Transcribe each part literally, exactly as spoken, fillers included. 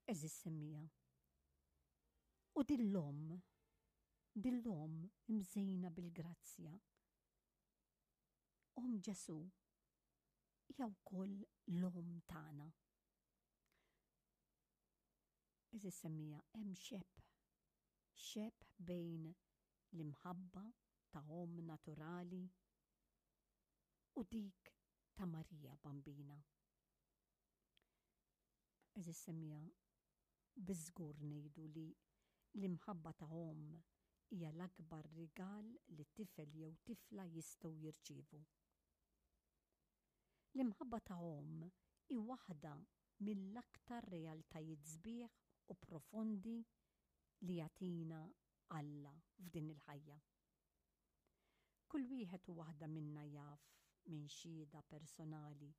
Għeżież semmiegħa. U din l-omm, din l-omm imżejna bil-grazzja, Omm Ġesù, hija wkoll l-omm tagħna. Għeżież semmiegħa, hemm xebh, xebh bejn l-imħabba ta' omm naturali u dik ta' Marija Bambina. Għeżież semmiegħa, biż-żgur ngħidu li l-imħabba ta' omm hija l-akbar rigal li tifel jew tifla jistgħu jirċievu. L-imħabba ta' omm hi waħda mill-aktar realtajiet sbieħ u profondi li jagħtina Alla f'din il-ħajja. Kull wieħed u waħda minna jaf minn xhieda personali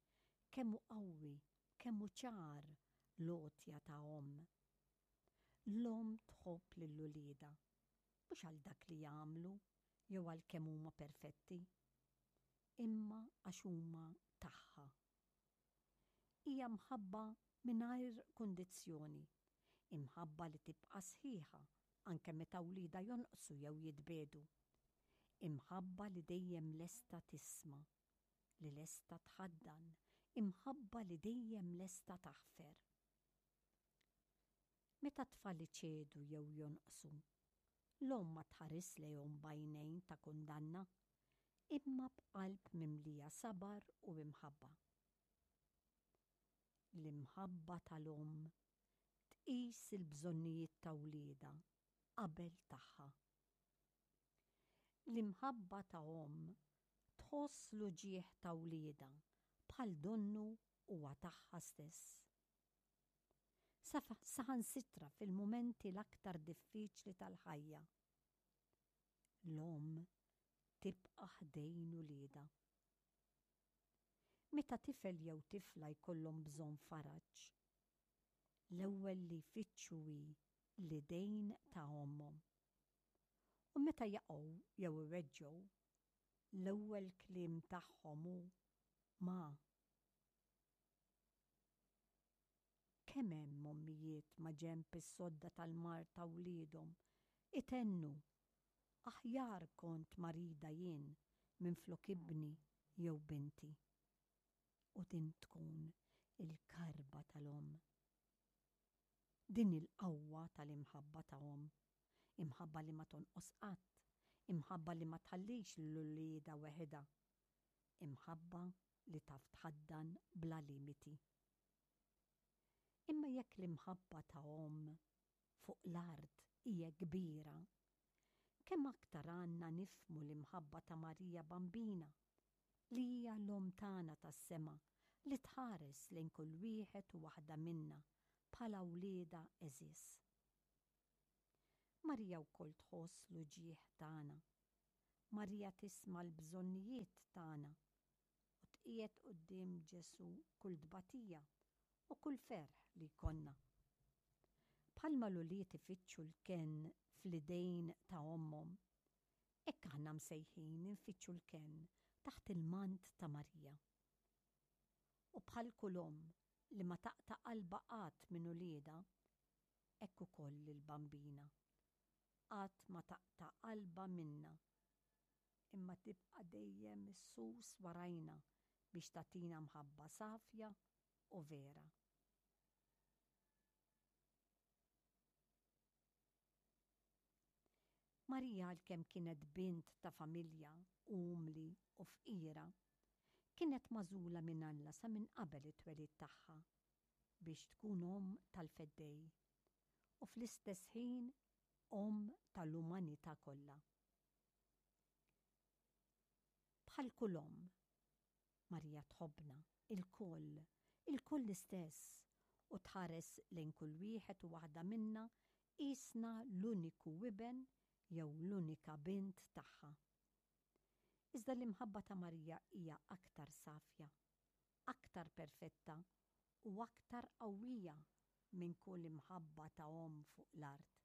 kemm hu qawwi, kemm hu ċar l-għotja ta' omm. L-omm tħobb lil uliedha, mhux għal dak li jagħmlu jew għal kemm huma perfetti, imma għax huma tagħha. Hija mħabba mingħajr kundizzjoni, imħabba li tibqa' sħiħa anke meta wliedha jonqsu jew jitbiegħdu. Imħabba li dejjem lesta tisma', li lesta tħaddan, imħabba li dejjem lesta taħfer. Meta t-tfal iċedu jew jonqsu, l-omm ma tħares lejhom b'għajnejn ta' kundanna, imma b'qalb mimlija sabar u imħabba. L-imħabba tal-omm tqis il-bżonnijiet ta' wliedha qabel tagħha. L-imħabba ta' omm tħoss l-uġigħ ta' wliedha bħal donnu huwa tagħha stess. Saħansitra fil-mumenti l-aktar diffiċli tal-ħajja. L-omm tibqa' ħdejn uliedha. Meta tifel jew tifla jkollhom bżonn faraġ, l-ewwel li jfittxu hi l-idejn ta' ommhom. U meta jaqgħu jew iweġġgħu, l-ewwel kliem tagħhom hu ma. Kemm hemm ommijiet ma' ġenb is-sodda tal-mard ta' wliedhom itennu, Aħjar kont marida jien minflok ibni jew binti. U din tkun il-karba tal-omm. Din hi l-qawwa tal-imħabba ta' omm, imħabba li ma tonqos qatt, imħabba li ma tħallix lil uliedha weħidha, imħabba li taf tħaddan bla limiti. Imma jekk l-imħabba ta' omm fuq l-art hija kbira, kemm aktar għandna nifhmu l-imħabba ta' Marija Bambina, li hija l-Omm tagħna tas-sema li tħares lejn kull wieħed u waħda minna bħala wliedha għeżież. Marija wkoll tħoss l-uġigħ tagħna. Marija tisma' l-bżonnijiet tagħna u tqiegħed quddiem Ġesù kull tbatija u kull ferħ li jkollna. Bħalma l-ulied ifittxu l-kenn fl-idejn ta' ommhom, hekk aħna msejħin infittxu l-kenn taħt il-mant ta' Marija. U bħal kull omm li ma taqta' qalbha qatt minn uliedha, hekk ukoll il-Bambina qatt ma taqta' qalbha minna, imma tibqa' dejjem issus warajna biex tagħtina mħabba safja u vera. Marija għalkemm kienet bint ta' familja umli u fqira, kienet magħżula minn Alla sa minn qabel it-twelid tagħha biex tkun omm tal-Feddej u fl-istess ħin omm tal-umanità kollha. Bħal kull omm, Marija tħobbna ilkoll, ilkoll l-istess, u tħares lejn kull wieħed u waħda minna qisna l-uniku iben jew l-unika bint tagħha. Iżda l-imħabba ta' Marija hija aktar safja, aktar perfetta u aktar qawwija minn kull imħabba ta' omm fuq l-art.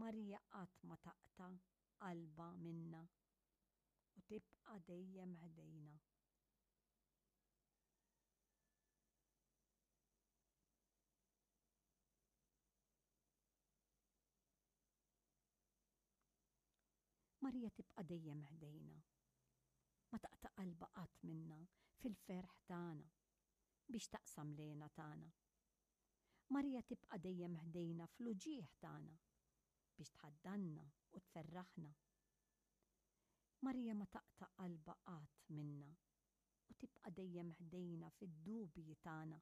Marija qatt ma taqta' qalbha minna u tibqa' dejjem ħdejna. Marija tibqa' dejjem ħdejna. Ma taqta' qalbha qatt minna fil-ferħ tagħna biex taqsam l-hena tagħna. Marija tibqa' dejjem ħdejna fl-uġigħ tagħna biex tħaddanna u tferraħna. Marija ma taqta' qalbha qatt minna u tibqa' dejjem ħdejna fid-dubji tagħna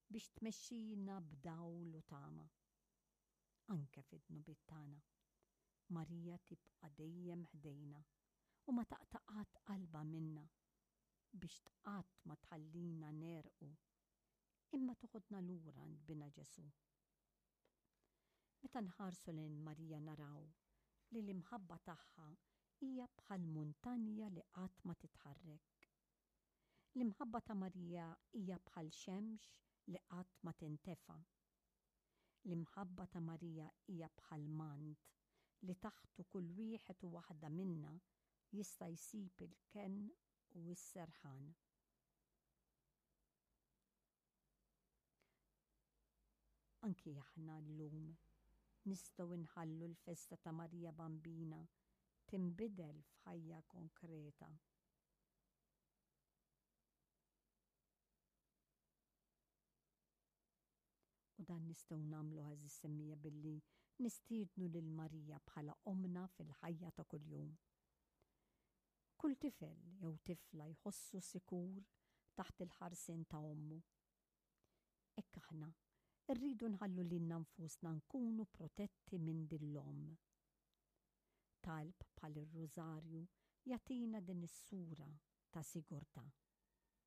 biex tmexxina b'dawl u tama. Anke fid-dnubiet tagħna. Marija tibqa' dejjem ħdejna u ma taqta' qatt qalbha minna biex qatt ma tħallina negħrqu imma toħodna lura għand Binha Ġesù. Meta nħarsu lejn Marija naraw li l-imħabba tagħha hija bħal muntanja li qatt ma titħarrek. L-imħabba ta' Marija hija bħal xemx li qatt ma tintefa. L-imħabba ta' Marija hija bħal mant li taħtu kull wieħed u waħda minna jista' jsib il-kenn u s-serħan. Anki aħna llum nistgħu nħallu l-festa ta' Marija Bambina tinbidel f'ħajja konkreta. U dan nistgħu nagħmlu, għeżież semmiegħa, billi nistiednu lil Marija bħala omna fil-ħajja ta' kuljum. Kull tifel jew tifla jħossu sikur taħt il-ħarsien ta' ommu. Hekk aħna rridu nħallu lilna nfusna nkunu protetti minn din l-omm. Talb bħal ir-rużarju jagħtina din is-sura ta' sigurtà.